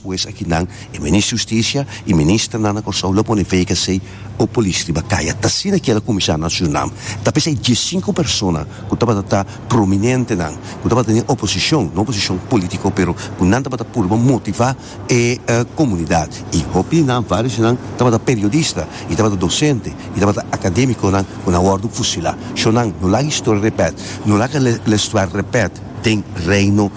Despues akinan e Minister di Hustisia i ministernan na Kòrsou lo pone VKC o polis riba kaya. Ta asina ki el a kuminsá na Surinam. Ta p'esei diesinku persona ku tabata ta prominentenan, ku tabata den oposishon, no oposishon polítiko, pero ku nan tabata purba motivá e komunidat. I hopi di nan, vários di nan tabata periodista i tabata dosente i tabata akadémikonan ku nan a wòrdu fusilá. Shonnan, no laga historia repèt, no laga l'histoire repèt den Reino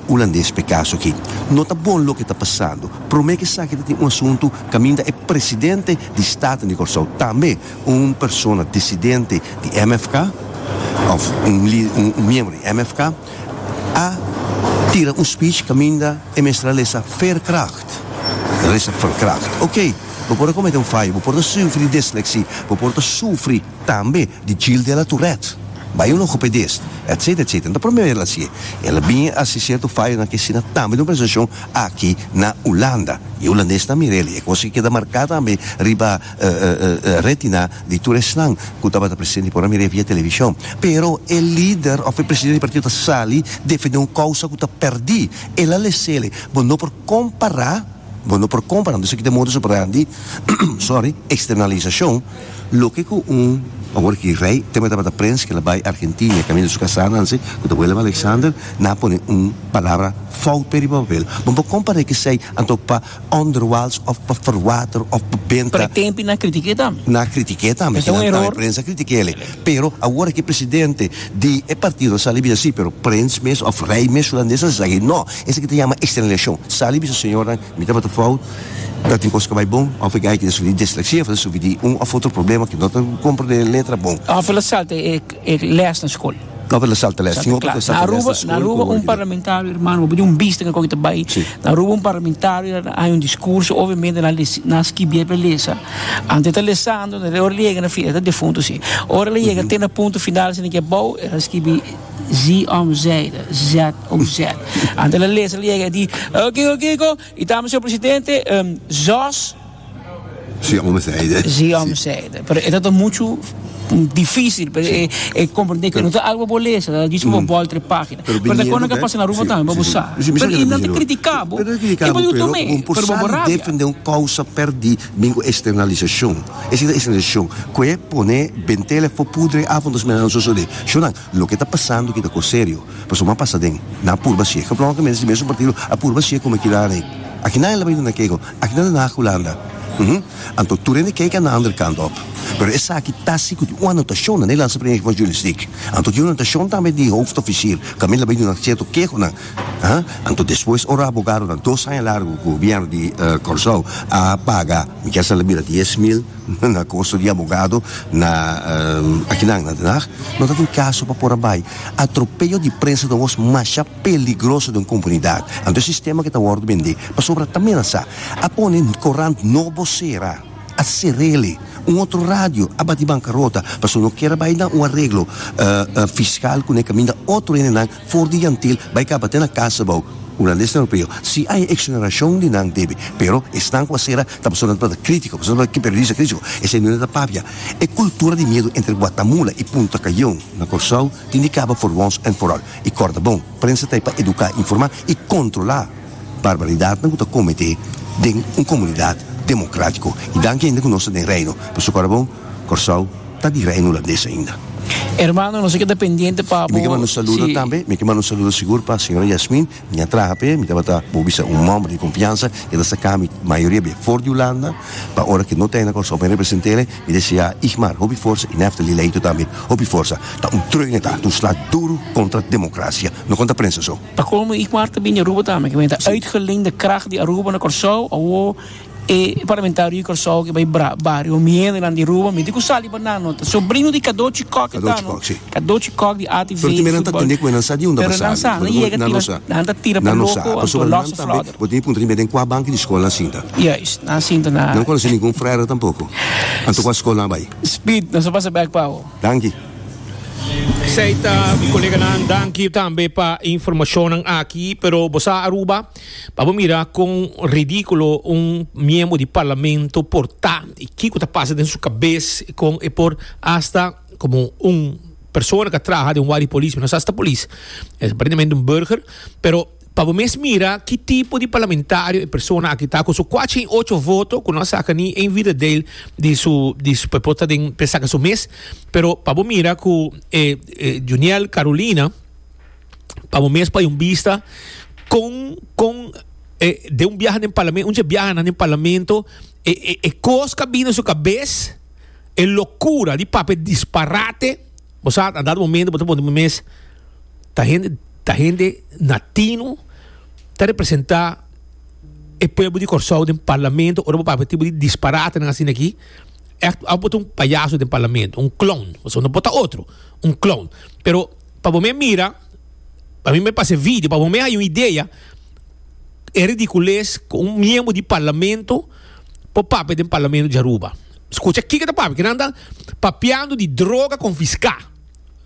Hulandes p'e kaso aki. No ta bon loke ta pasando. Promé ku esaki ta tin un asuntu kaminda e presidente di Staten di Kòrsou, tambe un persona disidente di MFK òf un un miembro di MFK, a tira un speech kaminda e mester a lesa veerkracht. El a lesa verkracht. Oké, bo por a komete un fayo, bo por ta sufri di dislexie, bo por ta sufri tambe di Gilles de la Tourette, bai un logopedist, etcetera, etcetera. No ta promé el a hasié. El a bin hasi sierto fayonan ke asina tambe den un presentashon aki na Hulanda. I e hulandesnan a mira el i e kos aki keda marká tambe riba retina di tur esnan ku tabata presente por a mir'é via televishon. Pero e lider òf e presidente di partido ta sali defendé un kousa ku ta pèrdí. El a les'el. Bo no por kompará, bo no por kompará, anto esaki ta e modus operandi, sorry, eksternalisashon, loke ku un, awor ki rei, tempo e tabata prens, ku el a bai Argentina kaminda su kasá Nancy, ku ta Willem Alexander, nan a pone un palabra fout p'e riba papel. Bo no por kompará esei anto pa onderwals of pa verwater of pa benta. Pero e tempi nan kritik'é tambe. Nan a kritik'é tambe. Esta un eror. E prensa a kritik'é. Pero awor aki presidente di e partido a sali bisa si, pero prens mes of rei mes hulandes a esaki. No, esaki ta yama externaliashon. Sali bisa señornan, mi tabata fout, ta tin kos ku a bai bon, of e guy ki ta sufri di dislexia of ta sufri di un of otro problema ki no ta komprende letra bon. Of el a salta e les na skol. No pero salta les. Salta klas. Na Aruba, na Aruba un parlamentario, hermano, bo tin un bista cu ta bay. Na Aruba un parlamentario a haña un discurso, obviamente nan lesi, nan skibié pa e lesa. Anto e ta lesando, ora el yega na fin, e ta defunto si. Ora el a yega te na punto final asina ki abou, el a skibi zie om zijde, Z o Z. Anto el a lesa, el a yega, e di, Kiko, kiko, y tambe señor presidente, zos. Zie om zijde. Zie om zijde. Pero e ta muchu difícil pa e e comprende que no ta algo bo lesa, ta djis bo bolter e pagina. Pero Pero ta biniendo kono ka bek, pasa na Aruba si, tambe, bo si, sa. si. Mi sa Pero ke i ta nan ta biniendo. critica bo, Pero ta e critica bo bo, diu pero tome, bo por pero bo sa bo di rabia. defende un causa perdi bin cu externalisacion. Esei ta externalisacion. Cu e pone bentele fo pudre afo nos mira nan sosode. Shownan, loke ta pasando aki ta cos serio. Pasobra bo a pasa den, nan a purba si'e. Geblonkemente si mesun partido a purba si'e como kila rei. Aki nan el a bay duna kego. Aki nan na Hulanda. Uhum. Anto tur hende kijk aan de andere kant op. Pero esaki ta si ku tin un anotashon na Nederlandse Vereniging van Journalistiek. Anto tin un anotashon tambe di hoofdofficier kaminda bai duna sierto kehonan. Ha? Anto despues ora abogadonan dos aña largu ku gobièrnu di Kòrsou a paga, mi kier sa la bira 10,000 na kosto di abogado na akinan na Den Haag, no ta tin kaso pa por a bai. Atropeyo di prensa ta un kos masha peligroso den comunidad. Anto e sistema ke ta wordo bende pasobra ta menasa. A pone corant nobo sera, a serele. Un otro radio a bati bancarota pasobra no kier a bay na un areglo fiscal cune caminda otro hendenan for di Yantil bay caba te na casa abao. Hulandes europeo si hay exoneracion di nan debe, pero esnan cu a sera ta pasobra nan tabata critico, pasobra nan tabata periodista critico. Esey no ta papia. E cultura di miedo entre Guatamula y Punta Cayon na Corsou tin di caba for once and for all. I kòrda bon, prensa ta ei pa eduká, informá i kontrolá barbaridatnan ku ta kometé den un komunidat demokrátiko. I danki ainda ku nos ta den Reino, pasobra kòrda bon, Kòrsou ta di Reino Hulandes ainda. Hermano, nos a keda pendiente pa I mi ke bo manda un saludo si. tambe, mi ke manda un saludo sigur pa señora Yasmin, mi a traha p'e, mi tabata, bo bisa, un homber di konfiansa, e ta saka mi mayoria bia for di Hulanda, pa ora ke no ta ei na Kòrsou pa mi represent'el, Mi desea Igmar hopi forsa y Neftali Leito tambe hopi forsa. Ta un treune ta, ta un sla duro contra democracia, no contra prensa so. Pa colmo Igmar ta bini Aruba tambe, ke ta uitgeleende kracht di Aruba na Kòrsou, awo e parlamentario di Kòrsou ke bai bario miendenan di Aruba, mi di ku sali pa nan no, ta sobrino di Cadochi Kock e ta no, Cadochi Kock di ATV Pero tin nan ta tende ku e nan sa di unda Pero nan sa, nan yega tira, nan ta tira pa loko, anto losse flodder. Bo tin di puntra di mi den kua banki di skol nan sinta. Juist, nan sinta na. Nan konosé ningun frère tampoko. Anto kua skol nan a bai? Speed, nos a pasa bek pa bo. Danki. Esei ta mi koleganan, danki tambe pa e informashonnan aki, pero bo sa Aruba, pa bo mira kon ridikulo un miembro di parlamento por ta i kiko ta pasa den su kabes, kon e por hasta komo un persona ku a traha den un wadi polis, mi no sa si ta polis, es aparentemente un burger, pero. Pa bo mes mira ki tipo di parlamentario e persona aki ta ku su kuachi i ocho voto ku no a saka ni een vierdedeel di su di su por ta den pa e saka su mes pero pa bo mira ku e Juniel Carolina pa bo mes pa un bista kon kon e den un biaha den parlamento un dje biahanan den parlamento e e e kos ku a bini na su kabes e lokura di papia disparate bo sa a dado momento bo ta pone bo mes Ta hende ta hende na tino ta representa e pueblo di Kòrsou den parlamento ora bo papia tipo di disparatenan asina aki ègt abo ta un payaso den parlamento un clown pasobra no por ta otro un clown pero pa bo me mira pa mi me pasa e video pa bo me haña un idea e ridicules ku un miembro di parlamento por papia den parlamento di Aruba skucha kiko ta papia kinan ta papiando di droga konfiská.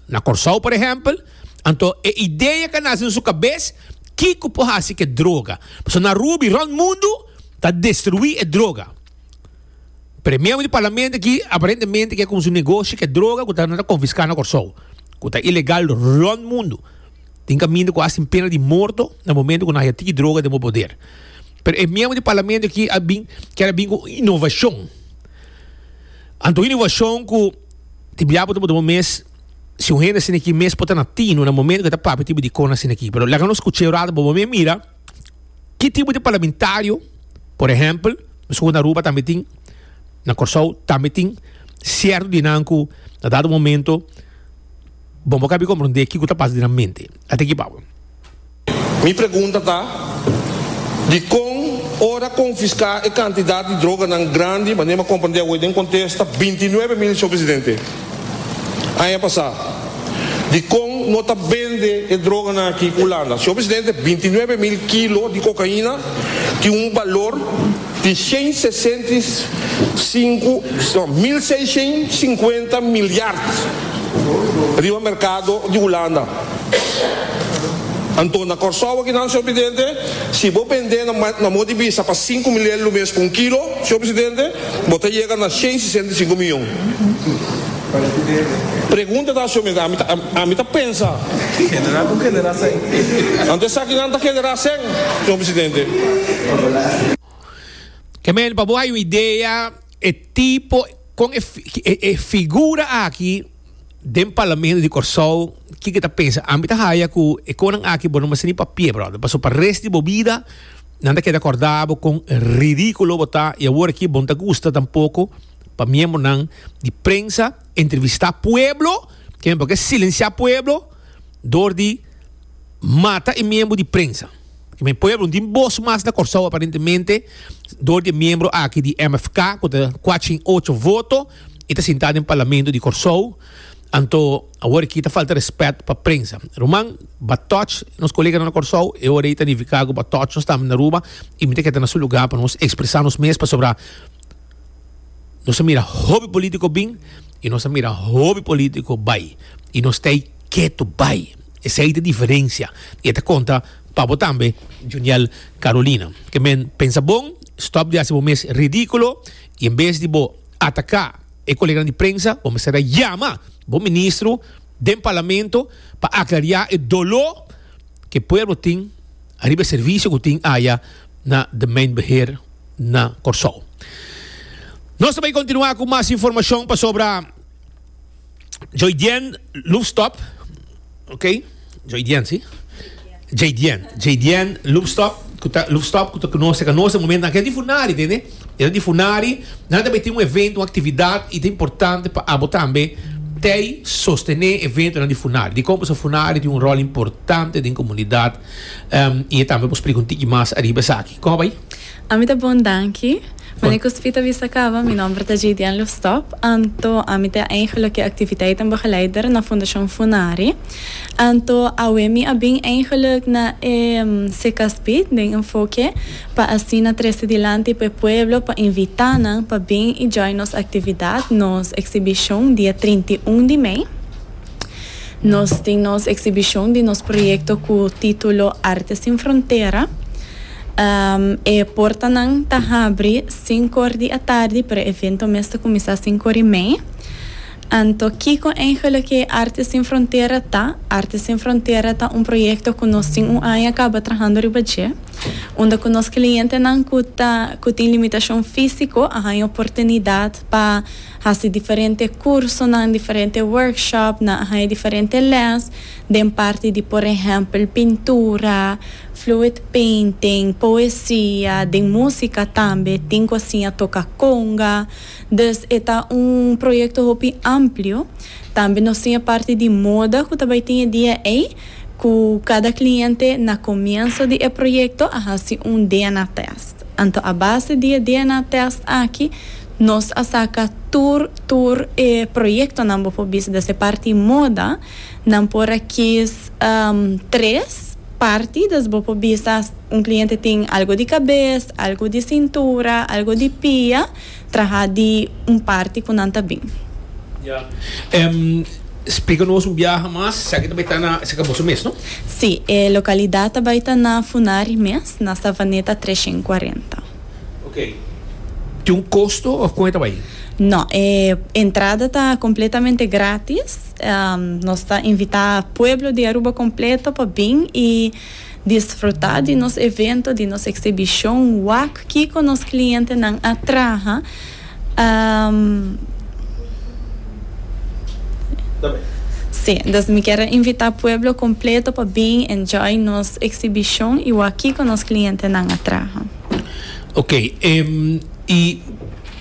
Na Kòrsou, por ehèmpel, anto e idea ku a nase den su kabes, kiko por hasi ku e droga? Pasobra na Aruba i rònt mundu ta destruí e droga. Pero e miembro di parlamento aki aparentemente ke kuminsá un negoshi ku e droga ku ta nan ta konfiská na Kòrsou, ku ta ilegal rònt mundu. Tin kaminda ku hasi pena di morto na momento ku nan haya tiki droga den bo poder. Pero e miembro di parlamento aki a bin kier a bin ku inovashon. Anto inovashon ku. Tin bia bo ta puntra bo mes si un hende asina aki mes por ta na tino na momento ku e ta papia tipo di kos asina aki. Pero laga nos skucha e rato pa bo mes mira ki tipo di parlamentario, por ehèmpel, meskos ku na Aruba tambe tin, na Kòrsou tambe tin sierto di nan ku na dado momento bo no kabi komprondé kiko ta pasa den nan mente. Ata aki pa bo. Mi pregunta ta, dikon ora konfiská e kantidat di droganan grandi, manera mi a komprendé awe den kontesta, 29 mil, señor presidente, aña pasá, dikon no ta bende e droganan aki Hulanda? Señor presidente, 29 mil kilo di kokaina tin un balor di 165, no, 1650 milyard riba merkado di Hulanda. Anto na Kòrsou akinan, señor presidente, si bo bend'é na modo di bisa pa 5000 lo mes pa un kilo, señor presidente, bo ta yega na 165 miyon. Pregunta ta, señor presidente, ami ta, ami ta pensa. Generá ku generá sèn. Anto esakinan ta generá sèn, señor presidente. Ke men, pa bo hay un idea e tipo, kon e, e figura aki den Parlamento di Kòrsou, kiko e ta pensa? Ami ta haya ku e konan aki bo no mester ni papia, brother. Pasobra pa rest di bo bida nan ta keda kòrda bo kon ridíkulo bo ta i awor aki bo no ta gusta tampoko pa miembronan di prensa entrevistá pueblo, ke men por ke silensiá pueblo dor di mata e miembro di prensa. Ke men pueblo no tin bos mas na Kòrsou aparentemente dor di e miembro aki di MFK ku ta kuachin ocho voto i ta sintá den Parlamento di Kòrsou. Anto awor aki ta falta rèspèt pa prensa. Ruman, ba tòch nos koleganan na Kòrsou, e ora ei ta nifiká ku ba tòch nos tambe na Aruba i mi ta keda na su lugá pa nos ekspresá nos mes pasobra nos a mira hopi polítiko bin i nos a mira hopi polítiko bai i nos ta ei ketu bai. Esei ta e diferensia i e ta konta pa bo tambe, Juniel Carolina. Ke men pensa bon, stòp di hasi bo mes ridíkulo i en bes di bo ataká e koleganan di prensa, bo mester a yama bo ministro den parlamento pa aklariá e doló ku e pueblo tin ariba e servisio ku tin aya na de Mijnbeheer na Kòrsou. Nos ta bai kontinuá ku mas informashon pasobra. Joydien Loefstop, ok, Joydien si, Jaydien, Jaydien Loefstop, ku ta Loefstop ku ta ku nos, ku nos e momentonan aki, e ta di Funari, tende, e ta di Funari, nan ta bai tin un evento, un aktividat i ta importante pa abo tambe tei sostené eventonan di Funari. Dikon? Pasobra Funari tin un ròl importante den komunidat i e tambe por splika un tiki mas ariba esaki. Kon a bai? Ami ta bon danki. Mane ku Spi ta bisa kaba, mi nomber ta Jaydian Lufstop, anto ami ta eigenlijk e activiteitenbegeleider na Fundashon Funari. Anto awe mi a bin eigenlijk na e CKSP den Enfoke pa asina trese dilanti pa e pueblo pa invita nan pa bin i join nos actividad, nos exhibicion dia 31 di mei. Nos tin nos exhibicion di nos proyecto cu titulo Arte sin Frontera. E portanan ta habri sinkor di atardi, pero e evento mes ta kuminsá sinkor i mei. Anto kiko eigenlijk e Arte Sin Frontera ta? Arte Sin Frontera ta un proyecto cu nos tin un aña caba trahando riba dje, unda cu nos clientenan cu ta cu tin limitacion fisico a haña oportunidad pa haci diferente cursonan, diferente workshop, nan a haña diferente les den parti di por ehempel pintura, fluid painting, poesia, den musica tambe tin cu a siña toca conga. Dus e ta un proyecto hopi amplio. Tambe nos tin e parti di moda cu ta bay tin e dia ey, cu cada cliente na comienso di e proyecto a haci un DNA test. Anto a base di e DNA test aki nos a saca tur tur e proyectonan bo por bisa. Dus e parti moda nan por a kies tres parti, dus bo por bisa un cliente tin algo di cabes, algo di cintura, algo di pia. Traha di un parti ku nan ta bin. Ya. Splika nos un biaha mas, esaki ta bai ta na, esaki ta boso mes, no? Sí, e lokalidat ta bai ta na Funari mes, na Savaneta 340. Ok. Tin un kosto òf kon e ta bai? No, e entrada ta kompletamente gratis. Nos ta invitá pueblo di Aruba kompleto pa bin i. Disfrutá di nos evento, di nos exhibicion, wak kico nos clientenan a traha. Sí, dus mi kier a invita pueblo completo pa bin enjoy nos exhibicion y wak kico nos clientenan a traha. Ok, y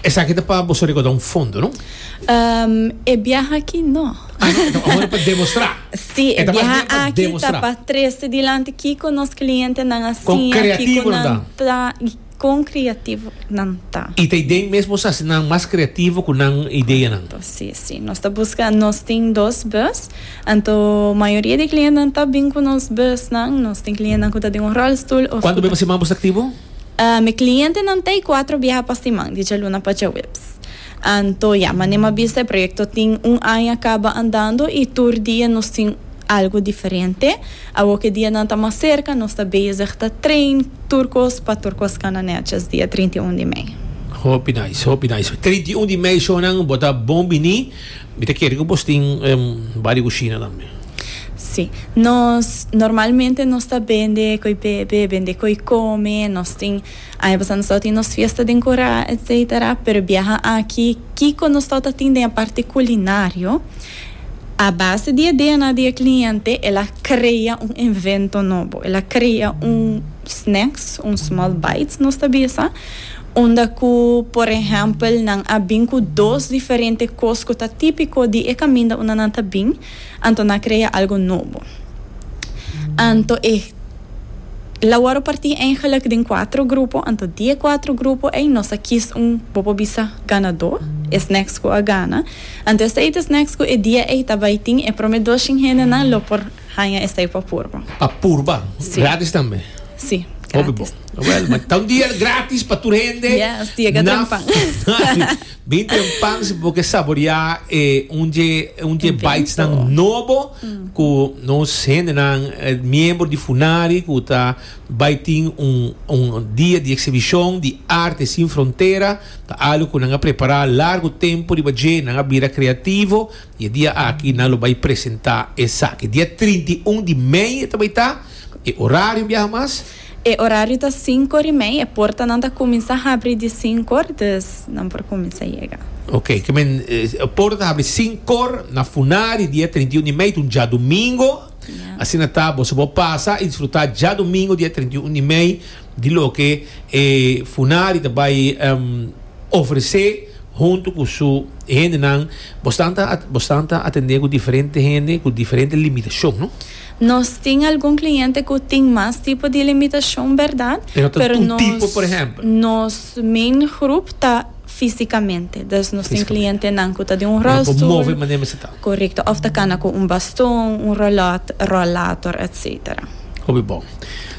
esaki ta pa boso recorda un fondo, no? E biaha aki no. Ah, no, ta awor pa demostra. Sí, e biaha aki ta pa trese dilanti kiko nos klientenan a siña, kiko nan ta i kon kreativo nan ta. I ta idea mes boso hasi nan mas kreativo ku nan ideanan. Sí, sí. Nos ta buska, nos tin dos bus, anto mayoria di klientenan ta bin ku nos busnan. Nos tin klientenan ku ta den un ròlstul òf. Kuantu bes pa siman boso ta aktivo? Mi klientenan ta ei kuatro biaha pa siman, di djaluna pa djaweps. Anto ya, manera mi a bisa e proyecto tin un aña caba andando y tur dia nos tin algo diferente. Awor cu e dianan ta mas cerca nos ta bezig ta train tur cos pa tur cos cana netjes dia 31 di mei. Hopi nice, hopi nice. 31 di mei shownan bo ta bon bini. Mi ta kere cu bos tin bari cushina tambe. Si. Nos normalmente nos ta bende coi bebe, bende coi come, nos tin. Aña pasá nos tabata tin nos fiesta den Corá, etcetera, pero e biaha aki kiko nos tabata tin den e parti kulinario, a base di e DNA di e kliente el a krea un invento nobo, el a krea un snacks, un small bites nos ta bisa, unda ku por ehèmpel nan a bin ku dos diferente kos ku ta típiko di e kaminda unda nan ta bin, anto nan a krea algo nobo. Anto e. La wòrdu partí eigenlijk den kuatro grupo, anto di e kuatro grupo ei nos a kis un, bo por bisa, ganadó, e snacks ku a gana. Anto esei ta snacks ku e dia ei ta bai tin e promé doshin hendenan lo por haña esei pa purba. Pa purba? Sí. Gratis tambe? Sí, Hopi bon. gratis. Wèl, ma ta un dia gratis pa tur hende. Yes, yega Na trempan. Bin trempan si bo ke saboreá e un dje un dje bitesnan nobo ku nos hendenan miembro di Funari ku ta bai tin un un dia di eksibishon di Arte Sin Frontera. Ta algu ku nan a prepará largu tempu riba dje, nan a bira kreativo i e dia aki nan lo bai presentá esaki. Dia 31 di mei e ta bai ta. E orario biaha mas? E orario ta sinkor i mei, e portanan ta kuminsá habri di sinkor, dus nan por kuminsá yega. Ok, ke men e porta ta habri sinkor na Funari dia 31 di mei, ta un djadumingo. Asina ta, boso por pasa i disfrutá djadumingo dia 31 di mei di loke e Funari ta bai ofresé huntu ku su hendenan. Bosnan ta bosnan ta atendé ku diferente hende ku diferente limitashon, no? Nos tin algun cliente cu tin mas tipo di limitacion berdad, Pero ta pero un nos tipo, por ehempel. nos main groep ta fisicamente. Dus nos tin Fisicamente. clientenan cu ta den un Nan por rolstoel. move manera mester ta. Correcto, of ta cana cu un baston, un rolot, rollator, etcetera. Hopi bon.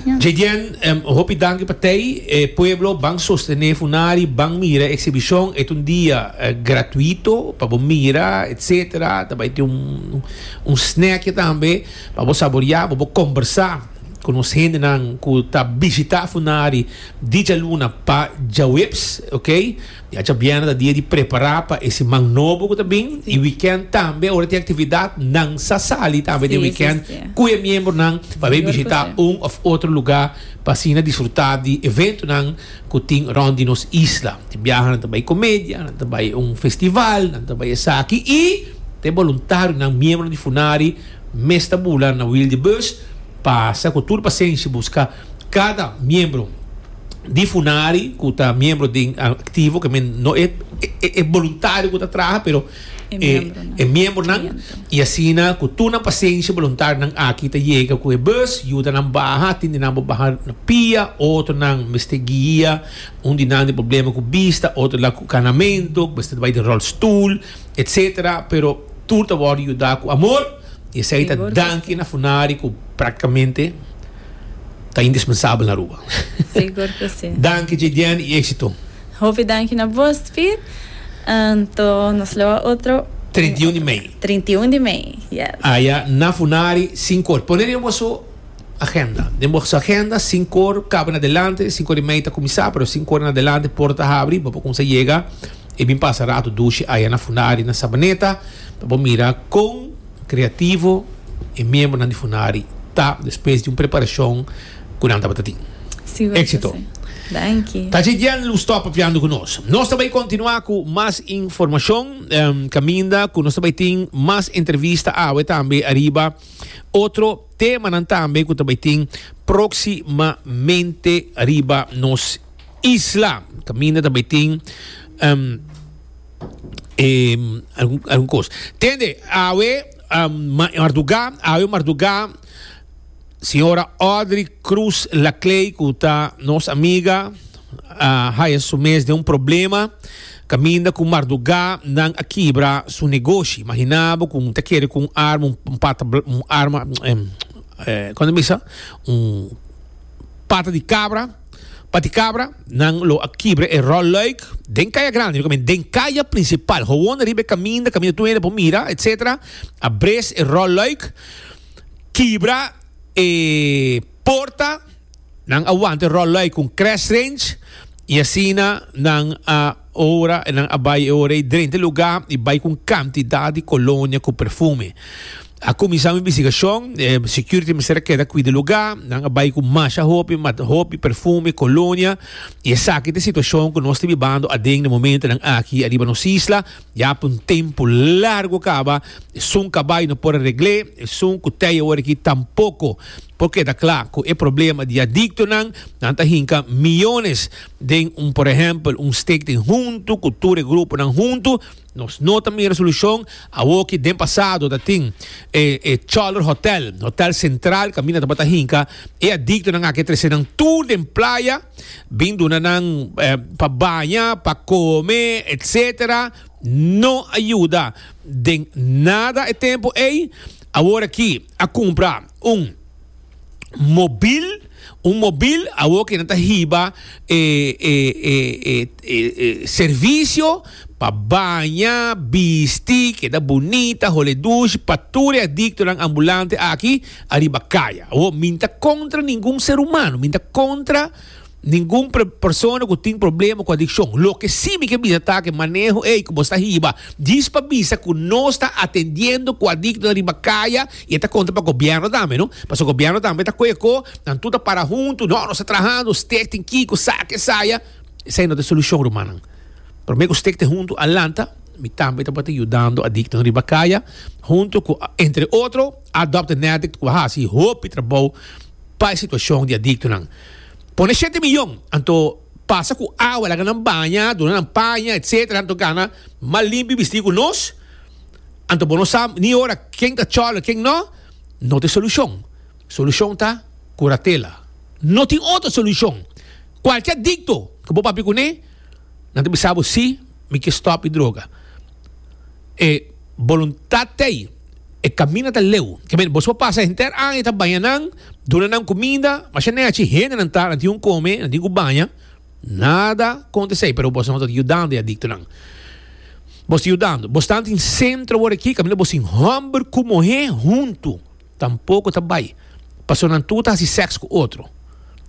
Yes. Jadian, em, hopi danki pa tei. E pueblo ban sostene Funari, ban mira e exhibicion. E ta un dia eh, gratuito pa bo mira, etcetera. Ta bai tin un, un snackje tambe pa bo saborea, bo por combersa. ku nos hendenan ku ta bishitá Funari di djaluna pa djaweps, ok. Ya djabièrnè ta dia di prepará pa e siman nobo ku ta bin i wikènt tambe ora tin aktividat nan sa sali tambe den wikènt ku e miembronan pa bay bishitá un òf otro lugá pa asina disfrutá di eventonan ku tin rònt di nos isla. Tin biaha nan ta bai komedia, nan ta bai un festival, nan ta bai esaki i ta e boluntarionan, miembronan di Funari mes ta bula na wiel di bus pasa ku tur pasenshi buska kada miembro di Funari ku ta miembro den aktivo, ke men no e e boluntario ku ta traha pero e e miembronan i asina ku tur nan pasenshi boluntarionan aki ta yega ku e bus yuda nan baha tin di nan por baha na pia otronan mester guia un di nan tin problema ku bista otro la ku kanamentu mester bai den rolstoel etcetera pero tur ta wòrdu yuda ku amor i esei ta danki na Funari ku praktikamente ta indispensabel na Aruba. Sigur ku si. Danki Jediane i éksito. Hopi danki na bos Piet. Anto nos lo a otro. 31 di mei. 31 di mei, yes. Aya na Funari sinkor. Pone den boso agenda. Den boso agenda sinkor kaba na adelante. Sinkor di mei ta kuminsá pero sinkor na adelante porta habri. Bo por kumsa yega i bin pasa rato dushi aya na Funari na Sabaneta pa bo mira kon kreativo e miembronan di Funari ta despues di un preparashon ku nan tabata tin. Éxito. Danki. Ta dje lu stop papiando ku nos. Nos ta bai kontinuá ku mas informashon kaminda ku nos ta bai tin mas entrevista awe tambe ariba otro temanan tambe ku ta bai tin próksimamente riba nos isla. Kaminda ta bai tin algun algun kos. Tende awe mardugá awe mardugá. Señora Audrey Cruz Laclay cu ta nos amiga a haya su mes den un problema caminda cu marduga nan a kibra su negoshi. Imagina bo cu ta kere cu un arma, un pata, un arma, con ta bisa? Un pata di cabra, pati cabra, nan lo a kibra e rolluik den Caya Grandi, den caya principal, gewoon riba e caminda, caminda tur hende por mira, etcetera, a bres e rolluik. Kibra e porta, nan a wanta e rolluik ku un crash range i asina nan a ora nan a bai e ora ei drenta e lugá i bai ku un kantidat di kolonia ku perfume. A kuminsá un investigashon, e security mester a keda kuida e lugá, nan a bai ku masha hopi hopi perfume, kolonia i esaki ta e situashon ku nos ta bibando aden na momentonan aki ariba nos isla. Ya pa un tempu largu kaba, esun kabai no por a regl'é, esun ku tei awor aki tampoko por keda kla ku e problema di adiktonan. Nan ta hinka miyones den un, por ehèmpel, un stichting huntu ku tur e gruponan huntu. Nos no ta mira solushon. Awoki den pasado ta tin e e Choller Hotel, Hotel Central, kaminda tabata hinka e adiktonan aki a trese nan tur den playa. Bin duna nan pa baña, pa come, etc. No a yuda den nada e tempo ey. Awor aki a cumpra un mobil, un mobil awor ki nan ta hiba e e e e e servicio pa baña, bisti, keda bunita, hole dushi pa tur e adictonan ambulante aki ariba kaya. Awor, mi n'ta kontra ningun ser humano, mi n'ta kontra ningun persona ku tin problema ku adikshon. Loke si mi ke bisa ta ku e maneho ei ku bo sta hiba djis pa bisa ku nos ta atendiendo ku adiktonan riba kaya i e ta kontra pa gobièrnu tambe no. Pasobra gobièrnu tambe ta kohe ko, nan tur ta para huntu, no nos ta trahando, stichting kiko, sa ke saya. Esei no ta e solushon rumannan. Promé ku stichting huntu a lanta, mi tambe tabata yudando adiktonan riba kaya huntu ku entre otro Adopt an Addict ku a hasi hopi trabou pa e situashon di adiktonan. Pone shete miyon, anto pasa ku awa, laga nan baña, duna nan paña, etsetera, anto gana mas limpi bistí ku nos, anto bo no sa ni ora ken ta chòler, ken no, no ta e solushon. Solushon ta kuratela. No tin otro solushon. Kualke adikto ku bo papia kuné, nan ta bisa bo si, mi ke stòp di droga. E boluntat t'ei. E kaminda ta leu. Ke men, boso por pasa henter aña ta baña nan, duna nan kuminda, masha nechi hendenan ta, nan tin ku kome, nan tin ku baña, nada kontra esei, pero boso no ta yudando e adiktonan. Boso ta yudando. Boso ta tin sentro awor aki kaminda boso tin hòmber ku muhé huntu, tampoko ta bai. Pasobra nan tur ta hasi sèks ku otro.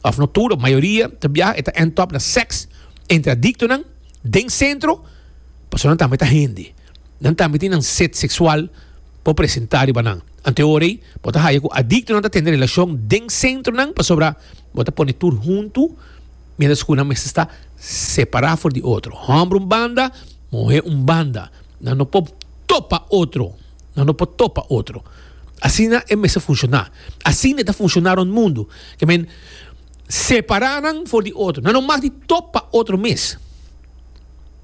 Òf no tur, mayoria ta biaha e ta end up na sèks entre adiktonan den sentro, pasobra nan tambe ta hende. Nan tambe tin nan set seksual por presentá riba nan. Anto e ora ei bo ta haya ku adiktonan ta tene relashon den sentronan pasobra bo ta pone tur huntu miéntras ku nan mester sta separá for di otro. Hòmber un banda, muhé un banda. Nan no por topa otro. Nan no por topa otro. Asina e mester funshoná. Asina e ta funshoná rònt mundu. Ke men separá nan for di otro. Nan no mag di topa otro mes.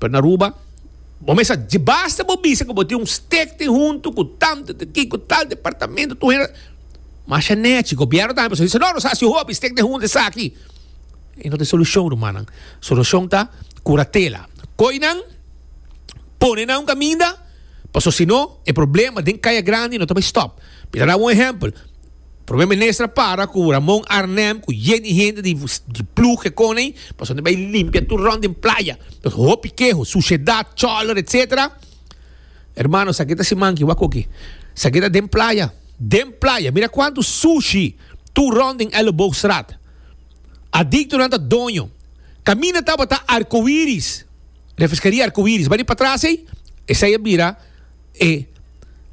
Pero na Aruba, bo mester dje basta bo bisa ku bo tin un stichting huntu ku tantu di ki ku tal departamento tur hende. Masha nechi. Gobièrnu tambe pasobra di bisa no nos a hasi hopi stichting huntu esaki. E no ta e solushon rumannan. Solushon ta kuratela. Koi nan, pone nan un kaminda. Paso si no, e problema den Kaya Grandi no ta bay stop. Mi ta daba un ehempel. Prome Minister a para cu Ramon Arnhem cu yen di hende di di ploeg e con ey, paso nan bay limpia tur rond den playa. Pues hopi keho, suciedad, choler, etc. Hermano, esaki ta siman ki wak oki. Esaki ta den playa, den playa. Mira cuanto sushi tur rond den Elleboogstraat. Adictonan ta doño. Caminda tabata arcoiris. Refreskeria Arcoiris bai di patras ei, esei a bira e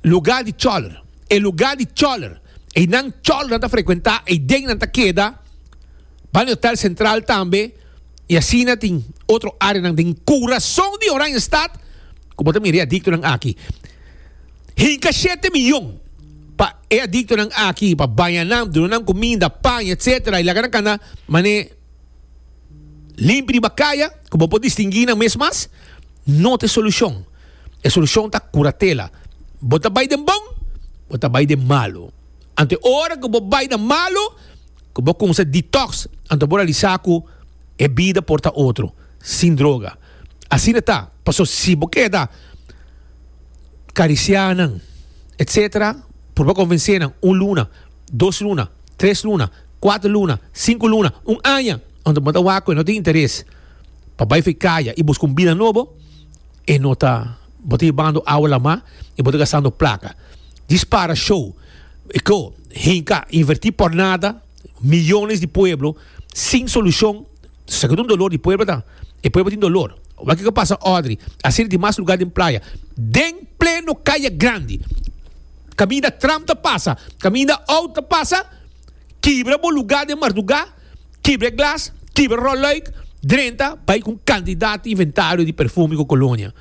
lugar di choler. E lugar di choler. Einan cholernan ta frekuentá, eiden nan ta keda. Ban di Hotel Central tambe i asina tin otro áreanan den kurason di Oranjestad ku bo ta mira e adiktonan aki. Hinka shete miyon pa e adiktonan aki pa baña nan, duna nan kuminda, paña, etsetera i laga nan kana manera. Limpi riba kaya ku bo por distinguí nan mes mas, no ta e solushon. E solushon ta kuratela. Bo ta bai den bon, bo ta bai den malu. Anto e ora ku bo bai na malu, ku bo kumsa detox, anto bo realisá ku e bida por ta otro, sin droga. Asina ta, pasobra si bo keda karisiá nan, etsetera, purba konvensé nan un luna, dos luna, tres luna, Kuater luna, sinku luna, un aña, anto bo ta wak ku e no tin interes pa bai for e kaya i buska un bida nobo, e no ta, bo ta hibando awa lamá i bo ta gastando plaka. Djis para show, e ko, hinka, invertí por nada, miyones di pueblo sin solushon, esaki ta un dolor di pueblo ta, e pueblo tin dolor. Wak kiko pasa Audrey, asina tin mas lugar den playa, den pleno kaya grandi, kaminda tram ta pasa, kaminda outo ta pasa, Kibra bo lugá den mardugá, kibra e glas, kibra ròlùik, drenta bai ku un kantidat di inventario di perfume ku kolonia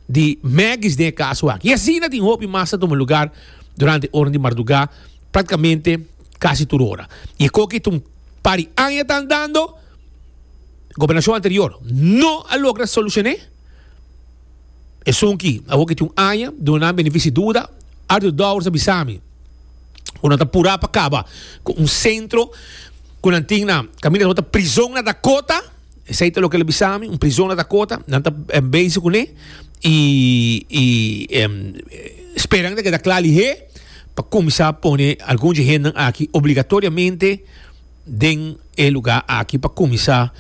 di Maggie's den e kaso aki. I asina tin hopi mas ta tuma lugar durante ora di mardugá, praktikamente kasi tur ora. I e koki ta un par di aña ta andando, gobernashon anterior no a logra solushoné. Esun ki awor ki tin un aña, duna nan benefisi duda, Arthur Dowers a bisa mi. ku nan ta purá pa kaba ku un sentro ku nan tin na kaminda tabata prizon na Dakota. Esei ta loke el a bisa mi, un prizon na Dakota. Nan ta bezig kuné i i speran ta keda kla lihé pa kuminsá pone algun dje hendenan aki obligatoriamente den e lugá aki pa kuminsá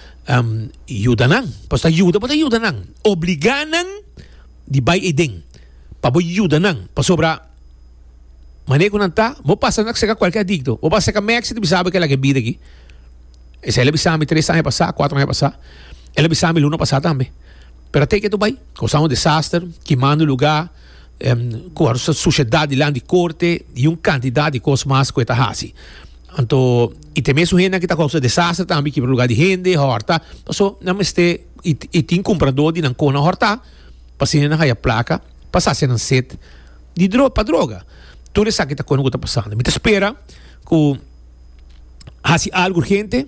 yuda nan. Pasobra ta yuda bo ta yuda nan, obligá nan di bai eiden pa bo yuda nan pasobra. Manera ku nan ta, bo pasa na seka kualke adikto. Bo pasa seka Maxi ta bisa bo ke laga e bida aki. Esei el a bisa mi tres aña pasá, kuater aña pasá. El a bisa mi luna pasá tambe. Pero a teken tu bai, kousa un desaster, kimando lugá, ku sushedat dilanti di korte i un kantidat di kos mas ku e ta hasi. Anto, i te mesun hendenan ki ta kousa desaster tambe, kibra lugá di hende, hòrta. Paso nan mester, i tin kumpradó di nan kona hòrta, pa asina nan haya plaka pa sasia nan set. Di dro pa droga. Tur esaki ta kono ku ta pasando. Mi ta spera ku hasi algu urgente.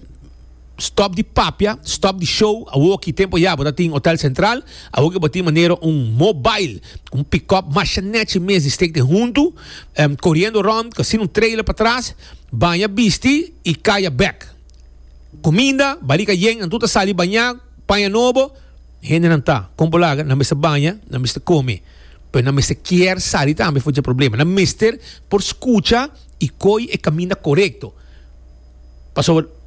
Stop di papia, stop di show. Awor ki tempo ya bo ta tin Hotel Central. Awor ki bo tin manera un mobile, un pick-up masha nechi mes di steek den huntu, koriendo rond, asina un trailer patras, baña bisti i kaya bek. Kuminda, barika yen, nan tur ta sali bañá, paña nobo. Hendenan ta, kon por laga, nan mester baña, nan mester kome. Pero nan mester kier sali tambe for dje problema. Nan mester por skucha i koi e kaminda korekto. Pasobra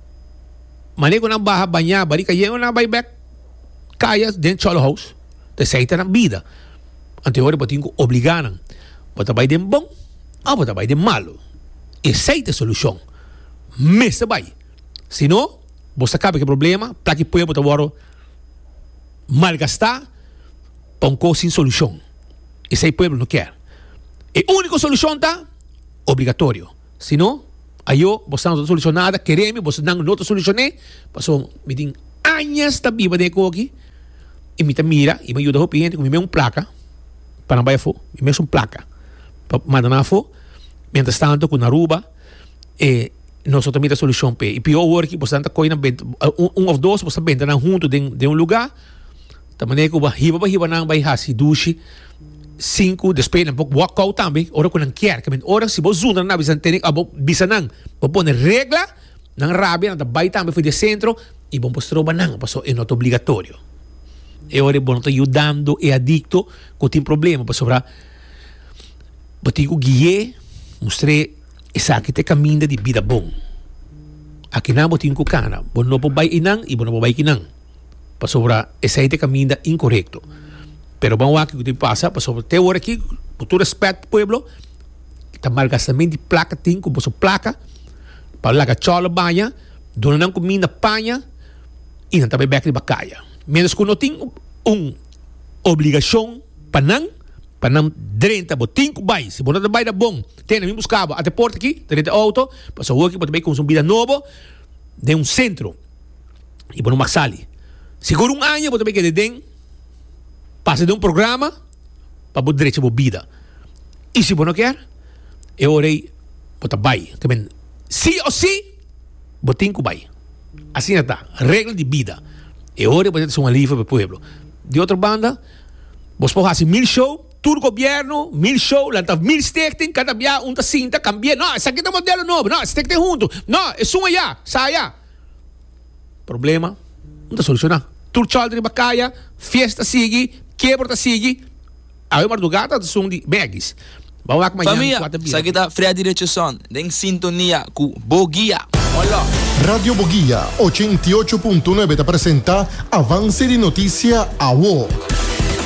manera ku nan baha bañá barika yen nan bai bek kaya den Cholo House. Ta esei ta nan bida. Anto e ora bo tin ku obligá nan. Bo ta bai den bon òf bo ta bai den malu. Esei ta e solushon. Mester bai. Si no, bo sa kaba ku e problema, plaka e pueblo ta wòrdu malgastá pa un kos sin solushon. Esei pueblo no kier. E úniko solushon ta obligatorio. Si no, ayo bo sa no ta solushon nada, kere mi bosonan no ta solushoné, pasobra mi tin añas ta biba den e koki i mi ta mira i mi a yuda hopi hende ku mi mes un plaka pa nan bai afó, mi mes un plaka pa manda nan afó, mientras tanto ku na Aruba e nos no ta mira solushon p'e. I pió awor ki bosonan ta kohe nan benta un òf dos boso ta benta nan huntu den den un lugá. Ta manera ku bo a hiba bo hiba nan bai hasi dushi sinku despues nan por walk out tambe ora ku nan kier. Kimen ora si bo zundra nan bisa tene abo bisa nan bo pone regla nan rabia nan ta bai tambe for di e sentro i bo por stroba nan pasobra e no ta obligatorio. E ora bo no ta yudando e adikto ku tin problema pasobra bo tin ku gui'é mustr'é esaki ta e kaminda di bida bon. Akinan bo tin ku kana bo no por bai einan i bo no por bai kinan. Pasobra esei ta e kaminda inkorekto. Pero ban wak kiko tin pasa, pasobra te ora aki, ku tur respet pueblo, ta malgastament di plaka tin ku boso plaka pa laga chòlò baña, duna nan kuminda, paña i nan ta bai bèk riba kaya. Miéntras ku no tin un obligashon pa nan, pa nan drenta, bo tin ku bai. Si bo no ta bai ta bon, tene mi buska bo ata e porta aki, drenta e outo, pasobra awor aki bo ta bai kuminsá un bida nobo den un sentro. y bo no mag sali. Sigur un aña bo ta bay keda den pasa den un programa pa bo drecha bo bida. Y si bo no kier, e ora ey bo ta bay. Ta men si o si bo tin cu bay. Asina ta, regla di bida. E ora ey bo ta un alivio pa e pueblo. Di otro banda, bos por haci mil show, tur gobierno, mil show, lanta mil stichting, cada bia un ta sinta, cambia, no, esaki ta modelo nobo, no, stichting hunto, no, esun aya, sa aya. Problema no ta solushoná. Tur chòlder riba kaya, fiesta sigui, kebro ta sigui. Awe mardugá ta esun di Maggies. Ban wak mañan Famia, kua ta bira. esaki ta Freddy Richardson den sintonia ku Bo Guia. Hola! Radio Boguia 88.9 ta presenta Avance di Noticia Awo.